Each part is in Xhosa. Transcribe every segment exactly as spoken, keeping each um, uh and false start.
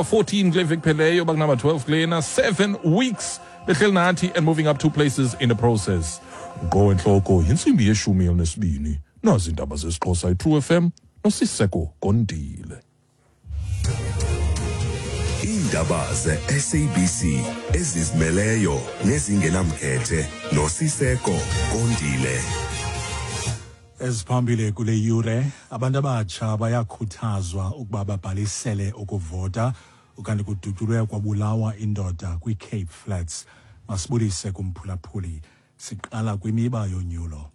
fourteen kule veki pheleyo, bakunumber twelve kulena. Seven weeks behleli nathi and moving up two places in the process. Ngqo entloko yintsimbi yeshumi elinesibini. Nazi iindaba zesiXhosa, iTrue F M noSiseko Gondile. Iindaba ze-S A B C ezizimeleyo nezingenamkhethe noSiseko Gondile. Eziphambili kule yure: abantu abatsha bayakhuthazwa ukuba babhalisele ukuvota, ukanti kudutyulwe kwabulawa indoda kwiCape Flats. Masibulise kumphulaphuli. Siqala kwimiba yonyulo.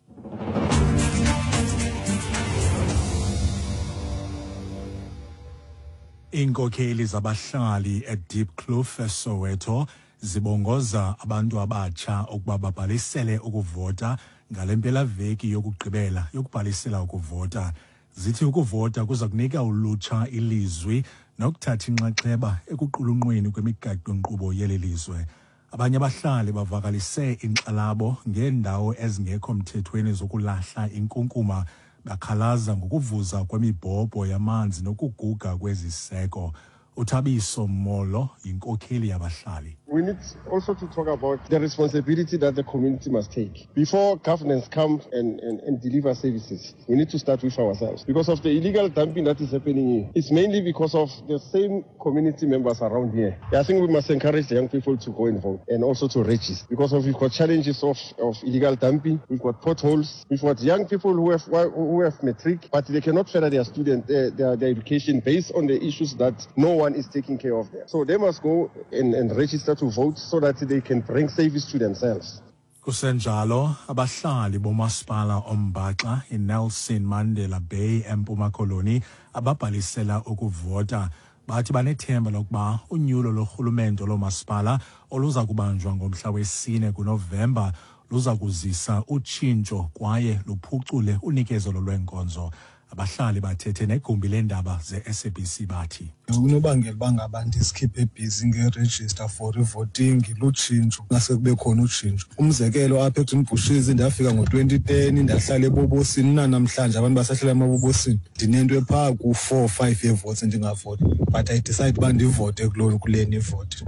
Iinkokheli zabahlali eDiepkloof eSoweto zibongoza abantu abatsha ukuba babhalisele ukuvota ngale mpelaveki yokugqibela yokubhalisela ukuvota. Zithi ukuvota kuza kunika ulutsha ilizwi nokuthatha inxaxheba ekuqulunqweni kwemigaqo-nkqubo yeli lizwe. Abanye abahlali bavakalise inkxalabo ngeendawo ezingekho mthethweni zokulahla inkunkuma, bakhalaza ngokuvuza kwemibhobho yamanzi nokuguga kweziseko. UThabiso Molo yinkokheli yabahlali. We need also to talk about the responsibility that the community must take. Before governance comes and, and, and deliver services, we need to start with ourselves. Because of the illegal dumping that is happening here, it's mainly because of the same community members around here. I think we must encourage the young people to go and vote and also to register. Because of we've got challenges of, of illegal dumping, we've got potholes, we've got young people who have, who have matric, but they cannot further their student, uh, their, their education based on the issues that no one is taking care of them. So they must go and, and register to vote so that they can bring service to themselves. Kusenjalo, abahlali bomasipala ombaxa iNelson Mandela Bay eMpuma Koloni ababhalisela ukuvota bathi banethemba lokuba unyulo lorhulumento lomasipala oluza kubanjwa ngomhla wesine kuNovemba luza kuzisa utshintsho kwaye luphucule unikezelo lweenkonzo. Abahlali bathethe negumbi leendaba ze-S A B C, bathi: Unobangela uba ngaba ndizikhiphe busy nge-register for i-voting lutshintsho. Ngase kube khona utshintsho. Umzekelo, apha eGreen Bushes ndafika ngo-twenty ten, ndahlala ebobosini. Unanamhlanje abantu basahlala emabobosini. Ndinento ephaa ku-four five yeevotes ndingavoti, but I decide uba ndivote kuloo kuleni ivoti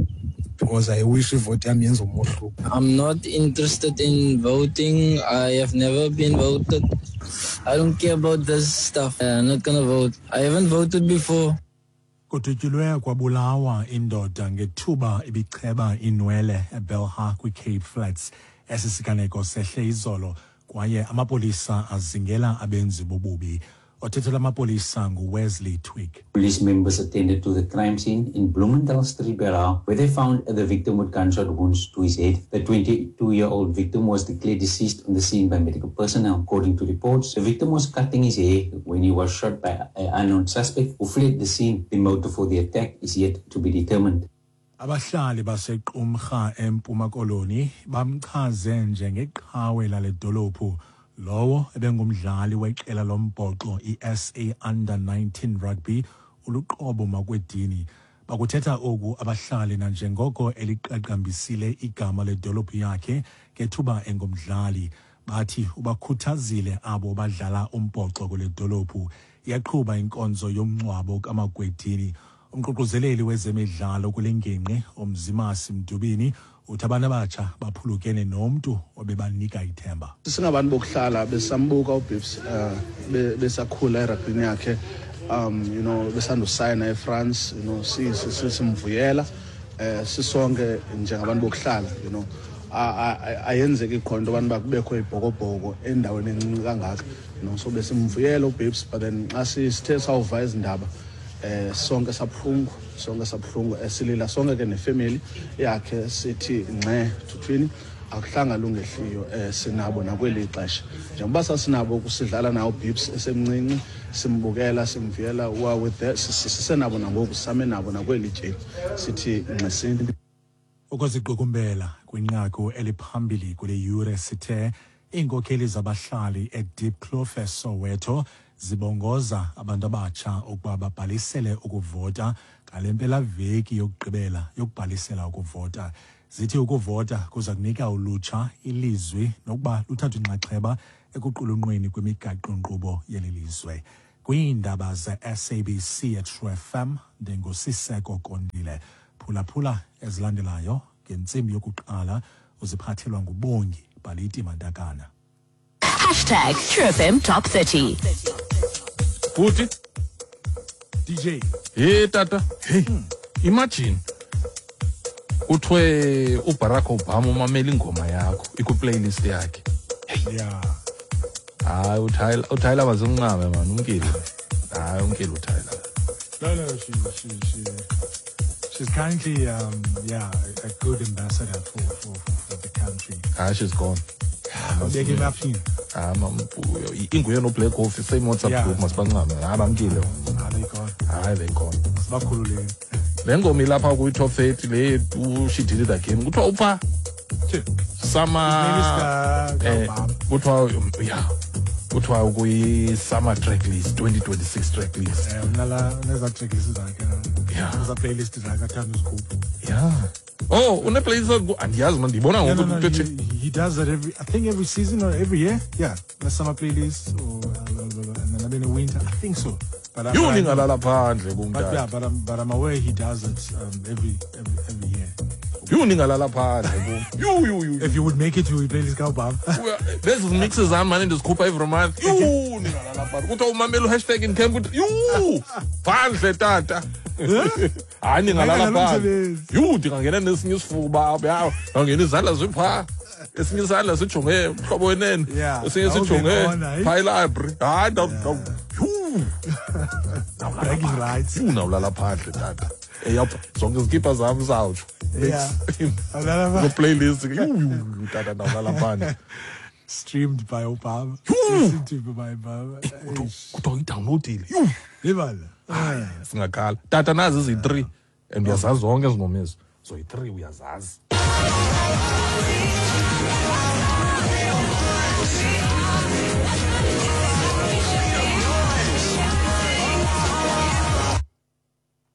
because I wish ivoti yam yenza umohluko. I'm not interested in voting. I have never been voted. I don't care about this stuff. I'm not gonna vote. I haven't voted before. Kudutyulwe kwabulawa indoda ngethuba ibicheba inwele eBelhar kwiCape Flats. Esi siganeko sehle izolo kwaye amapolisa azingela abenzi bobubi. Othethela amapolisa nguWesley Twigg. Police members attended to the crime scene in Bloemendal Street, Belhar, where they found the victim with gunshot wounds to his head. The twenty-two-year-old victim was declared deceased on the scene by medical personnel. According to reports, the victim was cutting his hair when he was shot by an unknown suspect who fled the scene. The motive for the attack is yet to be determined. Abahlali baseQumrha eMpuma Koloni bamchaze njengeqhawe lale dolophu lowo ebengumdlali weqela lombhoxo i-S A Under nineteen Rugby, uLuqobo Makwedini. Bakuthetha oku abahlali nanjengoko eliqaqambisile igama ledolophu yakhe ngethuba engumdlali. Bathi ubakhuthazile abo badlala umbhoxo kule dolophu. Iyaqhuba inkonzo yomngcwabo kaMakwedini. Umququzeleli wezemidlalo kule ngingqi, uMzimasi Mdubini, uthi abantu abatsha baphulukene nomntu obebanika ithemba. Singabantu bokuhlala besambuka uBibs uh, besakhula eragbini yakhe, um you know besandusayina eFrance, you know simvuyela eh sisonke njengabantu bokuhlala. you know Ayenzeki khona into abantu bakubekho ibhokobhoko endaweni encinci kangaka you know So besimvuyela uBibs, but then xa sithe sawuva izindaba, eh sonke sabuhlungu, sonke sabuhlungu, esilila sonke ke nefamily yakhe. Sithi ngxe thuthwini, akuhlanga lungehliyo. eh sinabo nakweli xesha njengoba sasinabo kusidlala nawo Bibs esemncinci, simbukela, simvuyela wa with that, sisenabo nangoku, same nabo nakweli tyeli, sithi ngxesini. Ukuziqukumbela kwinqaku eliphambili kule yure, sithe iinkokheli zabahlali eDiepkloof eSoweto zibongoza abantu abatsha ukuba babhalisele ukuvota ngale mpelaveki yokugqibela yokubhalisela ukuvota. Zithi ukuvota kuza kunika ulutsha ilizwi nokuba luthathe inxaxheba ekuqulunqweni kwemigaqo-nkqubo yeli lizwe. Kwiindaba ze-S A B C eTrue F M, ndinguSiseko Kondile. Phulaphula ezilandelayo ngentsimbi yokuqala uziphathelwa nguBongi Baliti Mandakana. Hashtag True F M Top thirty. Futhi D J. Hey tata, hey. Hmm. Imagine kuthiwe uBarack Obama umamela ingoma yakho iku-playlist yakhe. Hey. Yeah. Hayi uTyler, uTyler bazimncame man, umkile. Hayi umkile uTyler. No no she she she she's currently um yeah, a good ambassador for for for, for the country. Ah, she's gone. Big enough. Ah, inguye no Black Coffee same WhatsApp group masibancame. Hayi bamkile. Ah, they gone. Hayi they gone. Sibakhululile. Le ngoma ilapha kwi-top thirty le she did it again. Kuthiwa upha summer eh kuthiwa yeah kuthiwa kuyi-summer track list twenty twenty-six track list. Eh unala uneza track list zakhe. Yeah. Uneza playlist zakhe athanda uzikhupha. Yeah. Oh, une playlist andiyazi man ndibona ngoku he, he does that every I think every season or every year. Yeah, the summer playlist or uh, and then in the winter. I think so. But you ningalala phandle kumntana. But yeah, but I'm but I'm aware he does it um, every every every year. You ningalala phandle kum. You you you. If you would make it to playlist ka Obama. There's mixes zam man ndizikhupha every month. You ningalala phandle. Kuthiwa umamela hashtag in camp kuthi you phandle tata. Hayi ningalala phandle. You ndingangena nesinye isifuba apha. Ngangena izandla zipha. Esinye isandla sijonge umhlobo wenene. Esinye sijonge pha library. Hayi ndaw bragging rights. Unawulala phandle tata. Eyapha zonke izikipa zam zawutsho. Yeah. The playlist tata ndawulala phandle. Streamed by Obama. Listened to by Obama. Kuthiwa idownloadile. Libala. Singakhala. Tata nazi izi-three and uyazazi zonke ezi ngoma ezi. So i-three uyazazi.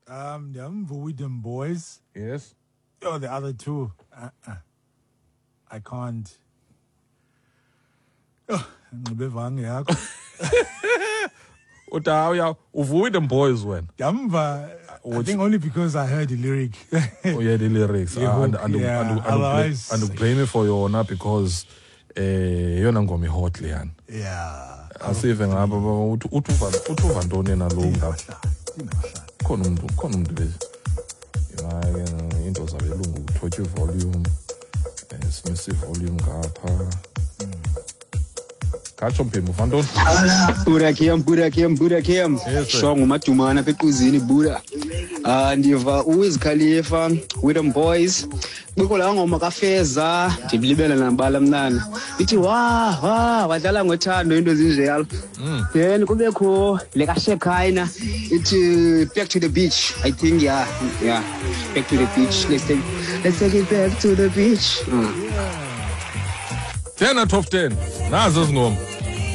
Um, the with them boys. Yes. Oh, the other two. Uh-uh. I can't. Oh, with them boys when. I think only because I heard the lyric. Oh yeah, the lyrics. Yeah, and and yeah. and, and, Otherwise, and blame it for your honor because eh yona ngoma hot leyana. Yeah. Asive ngapha uthi uthi uthi ntoni na lo ngapha. Khona umuntu khona umuntu bese hayi into zabelungu uthotya volume eh simise volume ngapha katsho mphemu fantoni Buda Kim Buda Kim Buda Kim shongo madumana apha equzini Buda ah ndiva uWiz Khalifa with them boys bikho la ngoma kaFeza ndilibele nabala mnana ithi wa wa wadlala ngothando into ezinjalo then kubekho le kaShekina ithi back to the beach I think yeah yeah back to the beach let's take let's take it back to the beach mm. ten out of ten nazo zingoma.